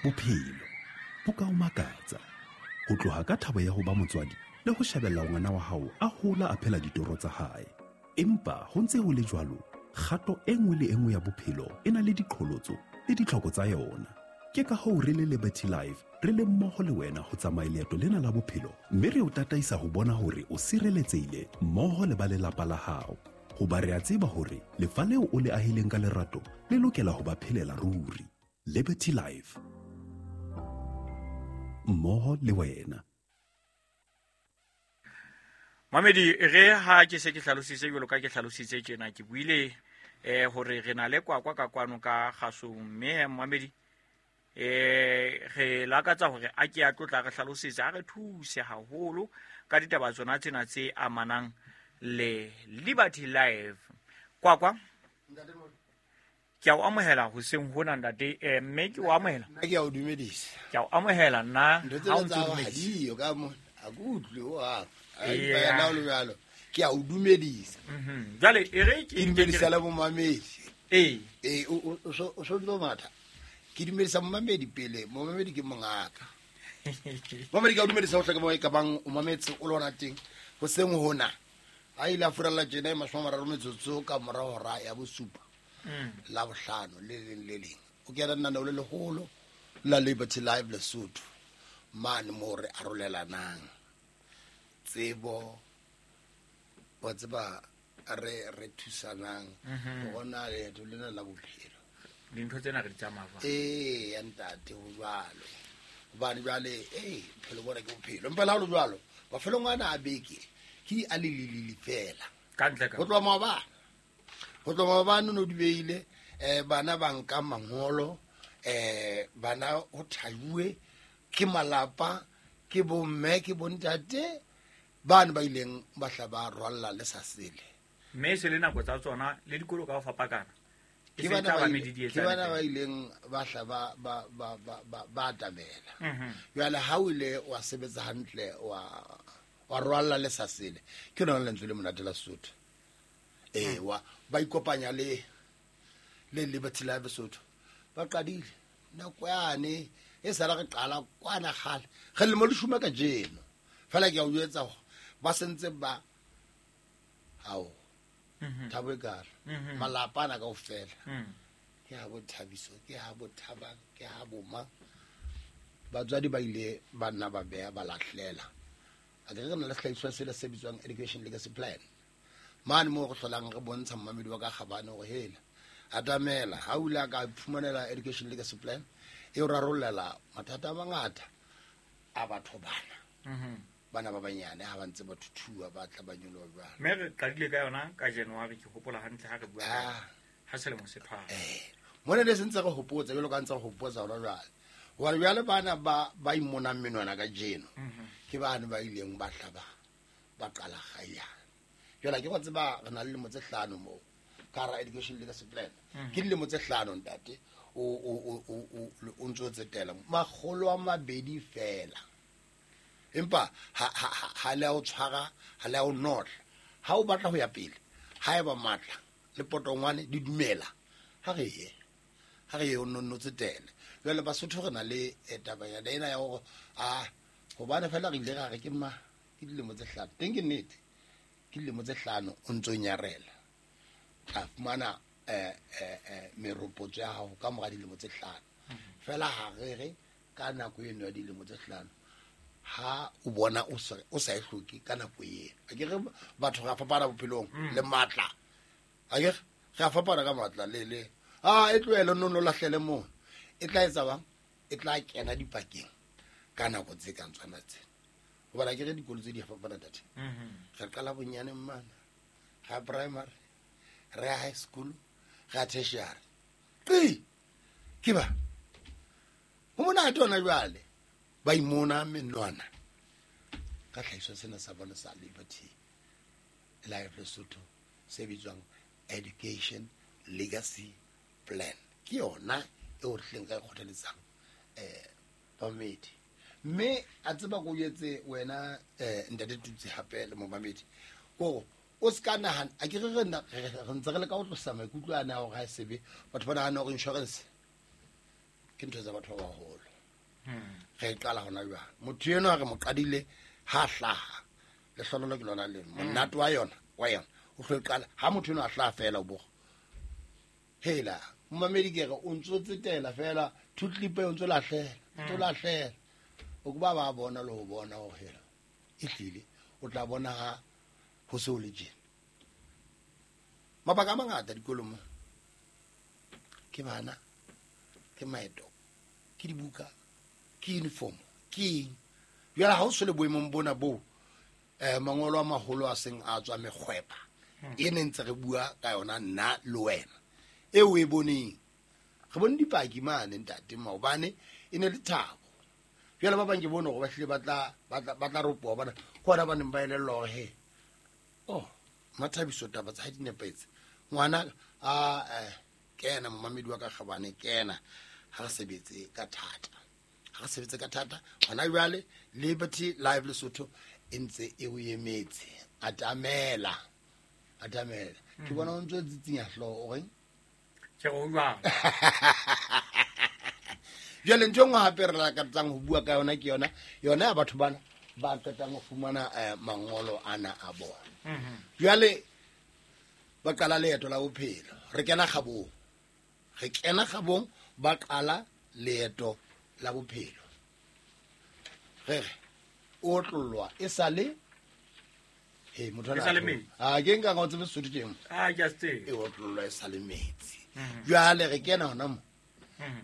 Bophelo bo ka o makatsa. Ho tloha ka thabo ya ho ba motswadi le ho shebella ngwana wa hao a hola a phela ditoro tsa hae. Empa ho ntse ho le jwalo, kgato e nngwe le e nngwe ya bophelo e na le diqholotso le ditlhoko tsa yona. Ke ka hoo re le Liberty Life re le mmoho le wena ho tsamaya leeto lena la bophelo mme re o tataisa ho bona hore o sireletsehile mmoho le ba lelapa la hao. Hoba re a tseba hore lefa leo o le ahileng ka lerato le lokela ho ba phelela ruri. Liberty Life. Mmoho le wena. Mamedi re ha ke se ke hlalositse jwalo ka ke hlalositse tjena ke buile hore re na le kwakwa ka kwano ka kgasong mme mamedi re lakatsa hore a ke a tlotla re hlalosetse a re thuse haholo ka ditaba tsona tsena tse amanang le Liberty Life. Kwakwa ke a o amohela hoseng hona ntate, mme ke o amohela. Nna ke a o dumedisa. Ke a o amohela nna. Ntho tsena tsa hao ha diyo ka mona. Ha ke utlwe ho hang. Ha Eya. empa yena o le jwalo. Ke a o dumedisa. Jwale e re ke Ke dumedisa le momamedi. Ee. Ee, o so ntso matha. Ke dumedisa momamedi pele. Momamedi ke mongaka. Momamedi ke a o dumedisa hohle ka moo e ka bang o mametse o le hona teng. Hoseng hona. Ha ile a furalla tjena e 30 metsotso ka mora hora ya bosupa. La bohlano le leng le leng. O kena lenaneo le leholo la Liberty Live Lesotho. Mane moo re arolelanang tsebo, wa tseba re thusanang ho bona leeto lena la bophelo. Dintho tsena re di tsamaya jwang? Ee, ya ntate, ho jwalo. Hobane jwale, ee, bophelo bona ke bophelo. Empa le ha ho le jwalo, mafelong ana a beke ke a le lelele fela. Ka ntle ka. Ho tloha maobane. Ho tloha maobane no di beile, bana ba nka mangolo, bana ho thajuwe ke malapa, ke bomme, ke bontate, bane ba ileng ba hla ba rwalla le sa sele. Mme e se le nako tsa tsona le dikolo ka ho fapakana. E Ke se bana tla ba ba ile- medidietsane ke bana teng. ba ileng ba hla ba atamela. Jwale ha o ile wa sebetsa hantle, wa rwalla le sa sele, ke lona lentswe le monate la Sesotho. Ee, ba ikopanya le Liberty Life Lesotho. Ba qadile nako yane e sala re qala kwana kgale. Re lemo le shuma kajeno. Fela ke a o jwetsa hore ba sentse ba hao. Thabo e kalo. Malapa ana kaofela. Ke ha bo Thabiso, ke ha bo Thabang, ke ha bo mang. Batswadi ba ile ba nna ba beha ba lahlela. A ke re na le sehlahiswa sela se bitswang Education Legacy Plan. Mane moo re hlolang re bontsha mmamedi wa ka kgabane hore hela atamela ha o ile a ka fumanela Education Legacy Plan e o rarollela mathata a mangata a batho bana. Bana ba banyane ha ba ntse ba thuthuwa ba tla ba nyoloha jwalo. Mme re qadile ka yona ka January, ke hopola hantle ha re bua ka ha selemo se phara. Mona ne se ntse re hopotsa jwalo ka ntse re hopotsa hona jwale. Hobane jwale bana ba imonang menwana kajeno, ke bane ba ileng ba hla ba qala kgayana. Jwale ke go tseba re na le dilemo tse hlano moo ka hara Education Legacy Plan. Ke dilemo tse hlano ntate, o ntso tsetela makgolo a mabedi fela. Empa ha le a o tshwara, ha le a o notla. Ha o batla ho ya pele, ha eba matla le potongwane di dumela, ha re ye. Ha re ye o nonno tsetele. Jwale Basotho re na le taba ya ena ya hore, hobane fela re ile ra re ke ma, ke dilemo tse hlano. Teng ke nnete. Ke dilemo tse hlano o ntso nyarela. Tla fumana meropotso ya hao ka mora dilemo tse hlano. Fela ha re re ka nako eno ya dilemo tse hlano, ha o bona o sa e hloke ka nako eno. A ke re batho re a fapana bophelong le matla. A ke re a fapana ka matla le le. E tlohele no no lahlele moo. E tla etsa bang? E tla kena dipakeng ka nako tse kang tsona tsena. Hobane a ke re dikolo tse di a fapana tate. Re qala bonyane mmana, ra primary, re ya high school, re ya tertiary. Qi! Ke ba. Ho monate hona jwale. Ba imona menwana. Ka tlhahiso sena sa bona sa Liberty Life Lesotho se bitswang Education Legacy Plan. Ke yona eo re hleng ka e kgothaletsang, bamamedi. Mme a tseba ko jwetse wena, ntate Tutsi hape le momamedi, kore o ska nahana, a ke re re na, re, re ntse re leka ho tlosa maikutlo ana a hore ha e sebe, batho ba nahana hore insurance ke ntho tsa batho ba baholo. Re e qala hona jwale. Motho enwa re mo qadile ha hlaha. Lehlonolo ke lona le monate wa yona, wa yona. O tlo e qala ha motho enwa a hlaha fela o bo. Hela, momamedi ke re o ntso tsetela fela, thutlip o ntso lahlela, ntso lahlela. O ke ba ba bona le ho bona hore hela e hlile o tla bona ha ho se ho le tjena. Mabaka a mangata dikolong mo. Ke bana, ke maeto, ke dibuka, ke uniform, ke eng. Jwale ha o se le boemong bona bo, mangolo a maholo a seng a tswa mekgwepa. E ne ntse re bua ka yona nna le wena. E o e boneng. Re bone dipaki mane ntate maobane e ne le thabo. Jwale ba bang ke bone hore ba hlile ba tla ropoha bana. Ke hona ba neng ba elellwa hore he. Oh, Mathabiso taba tsa hae di nepahetse. Ngwana a kena momamedi wa ka kgabane kena ha re sebetse ka thata. Ha re sebetse ka thata. Hona jwale Liberty Live Lesotho e ntse e o emetse. Atamela. Atamela. Ke bona o ntse o tsitsinya hlooho o reng? Ke re o jwang? Jwale ntho e nngwe hape re lakatsang ho bua ka yona ke yona, yona ya batho bana ba qetang ho fumana mangolo ana a bona. Jwale ba qala leeto la bophelo. Re kena kgabong. Re kena kgabong ba qala leeto la bophelo. Re re o tlollwa e sale he motho E sale metsi. A ke nka ga o tsebe Sesotho teng. Ah, ke a se tsebe. E otlollwa e sale metsi. Jwale re kena hona mo.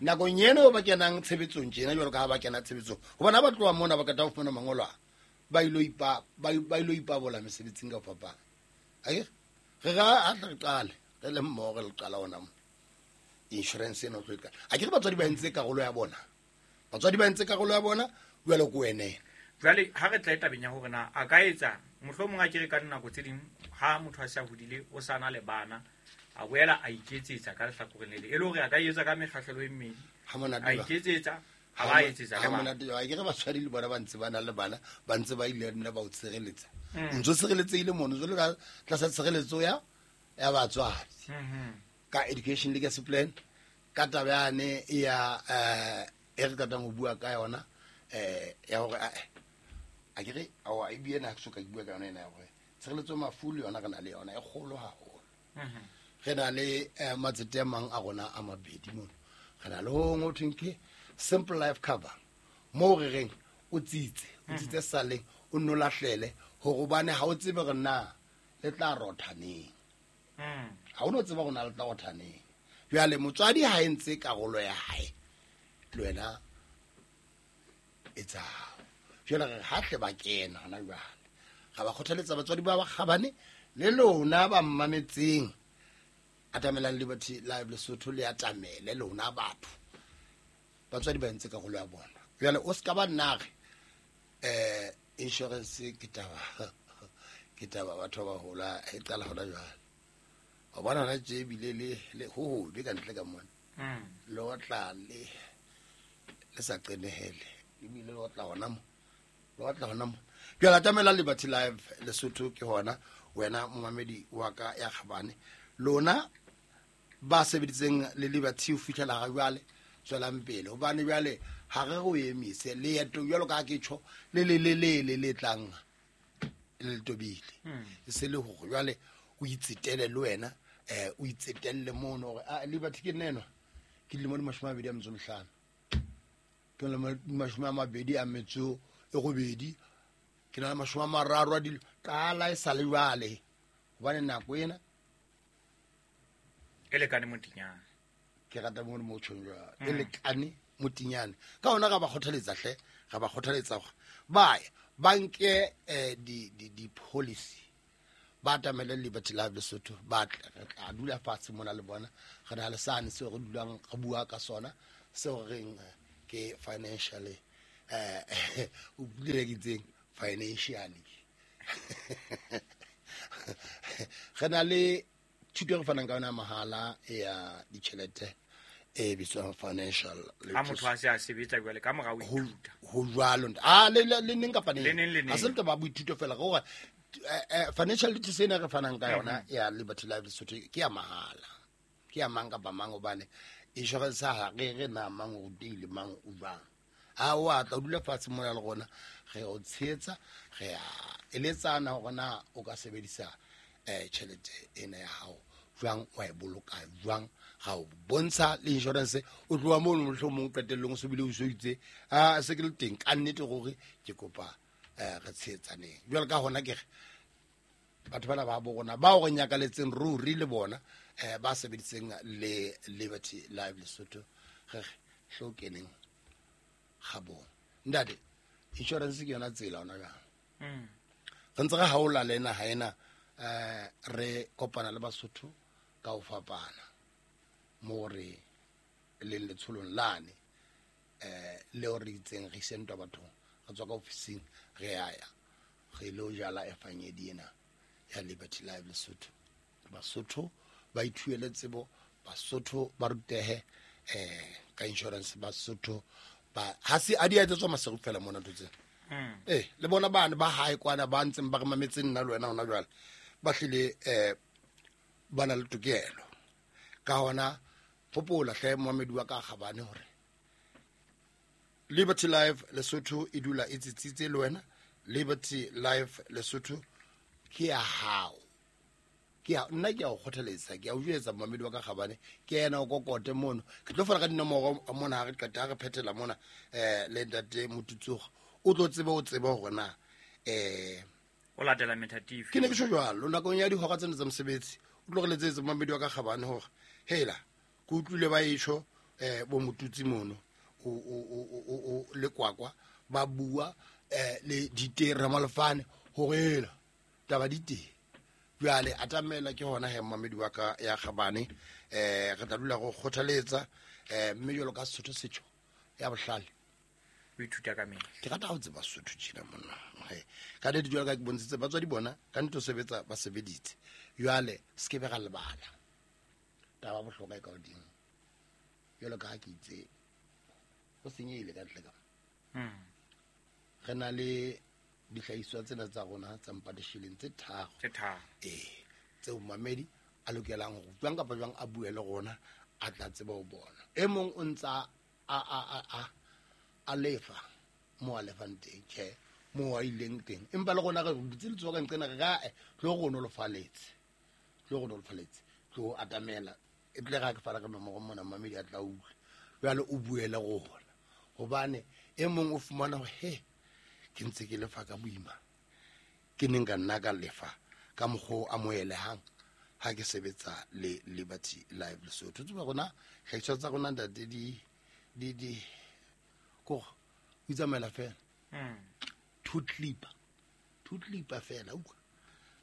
Nakong eno ba kenang tshebetsong tjena jwalo ka ha ba kena tshebetsong. Hobane ha ba tloha mona ba qeta ho fumana mangolo a, ba ilo ipa, ba ba ilo ipabola mesebetsing ka ho fapana. Akere? Re ra ha re qale, re le mmoho re le qala hona mo. Insurance ena o tlo e qala. Akere batswadi ba entse karolo ya bona. Batswadi ba entse karolo ya bona, jwale ko wena ena. Jwale ha re tla tabeng ya hore na a ka etsa mohlomong a kere ka dinako tse ding ha motho a se a hodile o sa na le bana a boela a iketsetsa ka lehlakoreng le le e le hore a ka etsa ka mekgahlelo e mmedi. Ha monate A jwang? iketsetsa, a Ha ba etsetsa le ha bana. monate jwang? Akere batswadi le bona ba ntse ba na le bana, ba ntse ba ile nna ba o tshireletsa. O ntso tshireletsehile mono, o ntso le ka tlasa tshireletso ya batswadi. Ka education legacy plan, ka taba yane ya e re qetang ho bua ka yona, ya hore, akere, aowa, e bile nna ha ke soka ke bua ka yona ena ya hore tshireletso mafu le yona re na le yona e kgolo haholo. Re na le matsete a mang a rona a mabedi mono. Re na le ho hong ho thweng ke simple life cover, moo re reng o tsitse, o tsitse saleng, o nno lahlele hore hobane ha o tsebe hore na le tla rotha neng. Ha o no tseba hore na le tla rotha neng. Jwale motswadi ha e ntse karolo ya hae, le wena etsa. Jwale re ha tle ba kena hona jwale. Ra ba kgothaletsa batswadi ba bakgabane le lona ba mmametseng. Atamelang Liberty Live Lesotho le atamele lona batho. Batswadi ba entse karolo ya bona. Jwale o ska ba nna re, insurance ke taba, ke taba batho ba bahola e qala hona jwale. Wa bona hona tje ebile le ho hobe ka ntle ka mona. Le otla le sa qenehele. Ebile le otla hona mo. Le otla hona mo. Jwale atamela Liberty Live Lesotho ke hona wena momamedi wa ka ya kgabane. Lona ba sebeditseng le Liberty ho fihlela ha jwale, tswelang pele. Hobane jwale ha re o emise leeto jwalo ka ha ke tjho, le le le le le le tlang le tobile. E se le hore jwale o itsetele le wena, o itsetelle mono hore, Liberty ke nna enwa. Ke dilemo di mashome a mabedi a metso e mehlano. Ke dilemo di mashome a mabedi a metso e robedi. Ke na le mashome a mararo a dilemo. Qala e sa le jwale. Hobane nako ena E lekane motinyane. Ke rata mono mo tjhong jwalo. E lekane motinyane. Ka hona ra ba kgothaletsa hle, ra ba kgothaletsa hore ba ye, ba nke di policy. Ba atamele Liberty Live Lesotho, ba tle, re tla dula fatshe mona le bona. Re na le sane seo re dulang re bua ka sona, seo re reng ke financially, o buile ke itseng financially. Re na le thuto e re fanang ka yona mahala ya ditjhelete e bitswang financial Ha motho a se a sebetsa jwale ka mora ho ithuta. Ho jwalo ntate. Ah, le, le, le neng kapa neng? Le neng, le neng. Ha se le taba ya boithuto fela, ke hore, financial literacy ena re fanang ka yona ya Liberty Live Lesotho ke ya mahala. Ke ya mang kapa mang, hobane insurance ha re re na mang o rutehile, mang o jwang. A o a tla o dula fatshe mona le rona, re o tshehetsa, re a eletsana hore na o ka sebedisa tjhelete ena ya hao jwang, wa e boloka jwang, ga o bontsha le insurance. O tloha mono mohlomong qetellong o se bile o so itse a se ke le teng ka nnete gore ke kopa re tshehetsaneng. Jwale ka hona ke re batho bana ba bo rona bao re nyakaletseng ruri le bona ba sebeditseng le Liberty Life Lesotho, re hlokeneng ga bona. Ntate, insurance ke yona tsela ona jwang. Re ntse re haola le naha ena, re kopana le Basotho ka ho fapana mo re leng letsholong lane leo re itseng re ise ntwa bathong, re tswa ka ofising re ya ya re lo jala efangedi ena ya Liberty Life Lesotho. Basotho ba ithuele tsebo, Basotho ba rutehe ka insurance, Basotho ba ha se a di etsetswa masego fela mona ntho tsena. Le bona bana ba hae kwana ba ntseng ba re mametse nna le wena hona jwale, ba hlile ba na le tokelo. Ka hona hopola hle momamedi wa ka kgabane hore Liberty Life Lesotho e dula e tsitsitse le wena. Liberty Life Lesotho ke ya hao. Ke ya nna, ke a o kgothaletsa, ke a o jwetsa momamedi wa ka kgabane, ke yena o kokote mono. Ke tlo fana ka dinomoro mona ha re qeta, ha re phethela mona le ntate Motutsoga, o tlo tsebe, o tsebe hore na o latela methatifi. Ke ne ke tjho jwalo nakong ya dihora tsena tsa mosebetsi, o tlo re letsetse momamedi wa ka kgabane hore hela ke utlwile ba etsho bo Motutsi mono o le kwakwa ba bua le dite Ramalefane hore hela taba di teng. Jwale atamela ke hona he momamedi wa ka ya kgabane, re tla dula go kgothaletsa mme jwalo ka Sesotho setjho ya bohlale o ithuta ka mehla. Ke rata ho tseba Sesotho tjena monna. Ka nnete jwalo ka ke bontshitse batswadi bona ka nnete ho sebetsa ba sebeditse. Jwale se ke be ra lebala taba bohlokwa e ka hodimo. Jwalo ka ha ke itse ho senyehile ka ntle ka. Re na le dihlahiswa tsena tsa rona tsa mpatishileng tse tharo. Tse tharo. Tseo momamedi a lokelang hore jwang kapa jwang a bue le rona, a tla tseba ho bona. E mong o ntsa a lefa mo a lefang teng, tjhe, mo a ileng teng. Empa le rona re butse letsoho ka nqena re ka, tlo re nolofaletse. Tlo re nolofaletse. Tlo atamela. E tle ra ke fana ka nomoro mona, momamedi a tla utlwa. Jwale o bue le rona. Hobane e mong o fumana hore, he, ke ntse ke lefa ka boima. Ke neng ka nna ka lefa ka mokgwa o amohelehang ha ke sebetsa le Liberty Life Lesotho. Tseba rona, hlahiswa tsa rona ntate di kore o itsamaela fela. Two clipper. Two clipper fela, utlwa.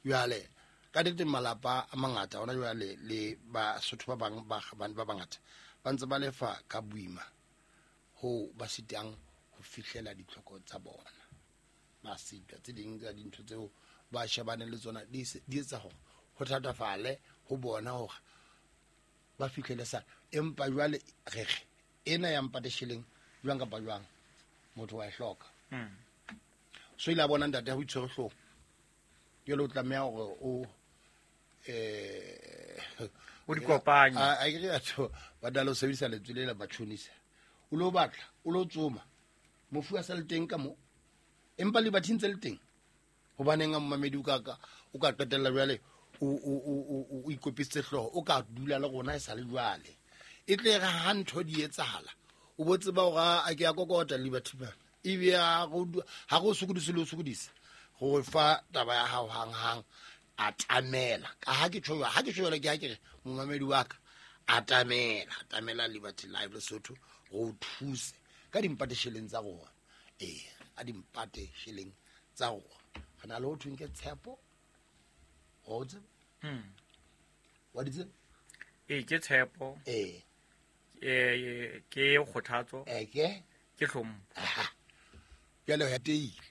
Jwale ka nnete malapa a mangata hona jwale le Basotho ba bang ba kgabane ba bangata ba ntse ba lefa ka boima ho ba sitang ho fihlela ditlhoko tsa bona. Ba sitwa tse ding tsa dintho tseo ba shebaneng le tsona di etsa hore ho thatafale ho bona hore ba fihlele sa. Empa jwale re re ena ya mpatesheleng jwang kapa jwang motho wa e hloka. So ile a bona ntate ha o itshwere hlooho. Jwale o tlameha hore o o di kopanye. A ke re batho ba dala ho sebedisa lentswe le la batjhonisa. O lo batla, o lo tsoma. Mofu a sa le teng ka mo. Empa le bathing tse le teng. Hobaneng a momamedi o ka o ka qetella jwale o ikopisitse hlooho, o ka dula le rona e sa le jwale. E tle re ha ntho di etsahala, o bo tseba hore a ke a kokota Liberty man. Ebe ha go sokodise le ho sokodisa, go fa taba ya hao hang-hang, atamela. Ka ha ke tjho, ha ke tjho jwale ke ha ke re momamedi wa ka, atamela, atamela Liberty Life Lesotho go thuse ka dimpatesheleng tsa rona. A dimpatesheleng tsa rona. Re na le ho thweng ke tshepo. Wa o tseba? Wa di tseba? Ke tshepo. Ke kgothatso. Ke? Ke hlompho. Aha. Jwale ho ya teile.